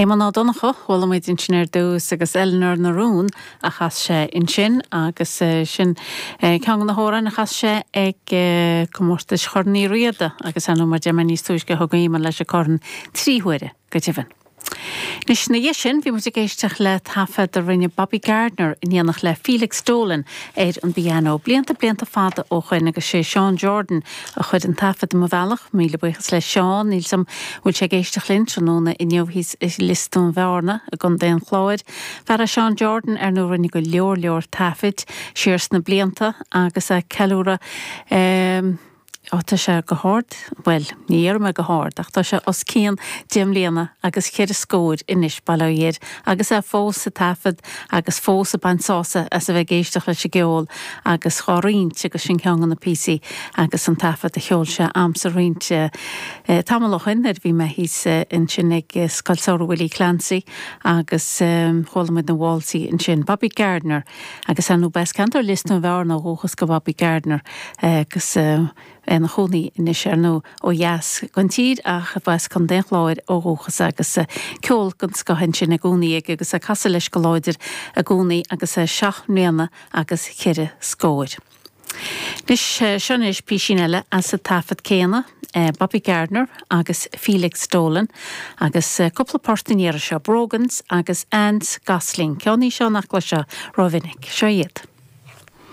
Éamonn Ó Donnchadha, chuala muid ansin ar dtús agus Eleanor na Rún a chas sé ansin agus sin ceann de na hamhráin a chas sé ag comórtais Chorn Uí Riada agus ar ndóigh mar a deir mé níos túisce thug Éamonn leis an corn 3 huaire go deimhin. Anois ina dhiaidh sin bhí muid ag éisteacht le taifead a rinne Bobby Gardner in éineacht le Felix Dolan ar an bpianó blianta blianta fada ó shoin agus sé Seán Jordan a chuir an taifead i mo bhealach. Míle buíochas le Seán, níl 's a'm bhfuil sé ag éisteacht linn tráthnóna inniu thíos i Lios Dúin Bhearna i gContae an Chláir. Fear é Seán Jordan ar ndóigh a rinne go leor leor taifid siar sna blianta agus é ag ceiliúradh Á, tá sé go hard, bhuel, ní dhéarfaidh mé go hard, ach tá sé os cionn deich mbliana agus cheithre scóir anois, bail ó Dhia air, agus é fós ag taifead agus fós ag baint sásamh as a bheith ag éisteacht leis an gceol agus dhá roinnt agus sin ceann de na píosaí agus an taifead a sheol sé a'msa roinnt tamall ó shoin nuair a bhí mé thíos ansin ag Scoil Samhraidh Willie Clancy agus chuala muid na válsaí ansin. Bobby Gardner. Agus ar ndóigh b'as ceantar Lios Dúin Bhearna ó dhúchas go Bobby Gardner agus é ina chónaí anois ar ndóigh ó dheas den tír ach b'as Contae an Chláir ó dhúchas agus ceol den scoth ansin i gcónaí aige agus ag casadh leis go láidir i gcónaí agus é seacht mbliana agus cheithre scóir. Anois, seo anois písín eile as an taifead céanna, Bobby Gardner agus Felix Dolan agus cúpla port an iarraidh seo, Brogans agus Anne's Gosling, ceann í seo nach gcloisfeá rómhinic. Seo iad.